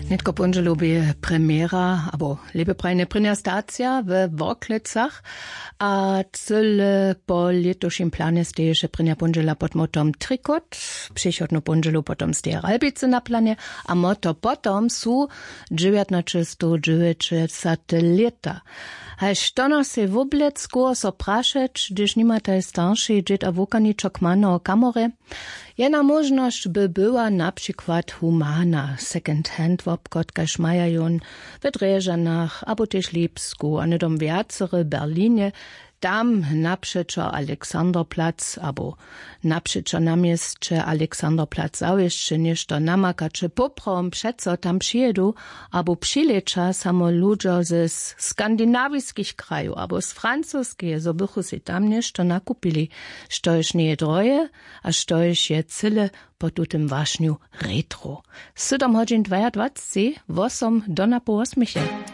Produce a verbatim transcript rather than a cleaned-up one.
Nětko póndźelu bě premjera abo lěpje prajnje prěnja stacija we Worklecach. A cyle po lětušim planje steješe prěnja póndźela pod motom Trikot. Přichodnu póndźelu potom steje Ralbicy na planje. A moto potom su dźewjatnaćestowdźewjećdźesate lěta. Haž to nas je woblecku so prašeć, hdyž nimataj staršej dźěd a wukaničo kmano kamorje. Jedna móžnosć by była na přikład humana second hand wobchod kaž maja jón w drježanach abo tež lipsku a hnydom wjacery w berlinje. Tam napřećo alexanderplatz abo napřećo na měsće alexanderplatz zawěsće něšto namakaće poprawom přeco tam přijědu abo přilěća samo ludźo ze skandinawiskich krajow abo z francoskeje zo bychu sej tam něšto nakupili, štož njeje droje a štož je cyle po tutym wašnju retro. Sydom hodźin dwajadwaceći wosom do napoł wosměche.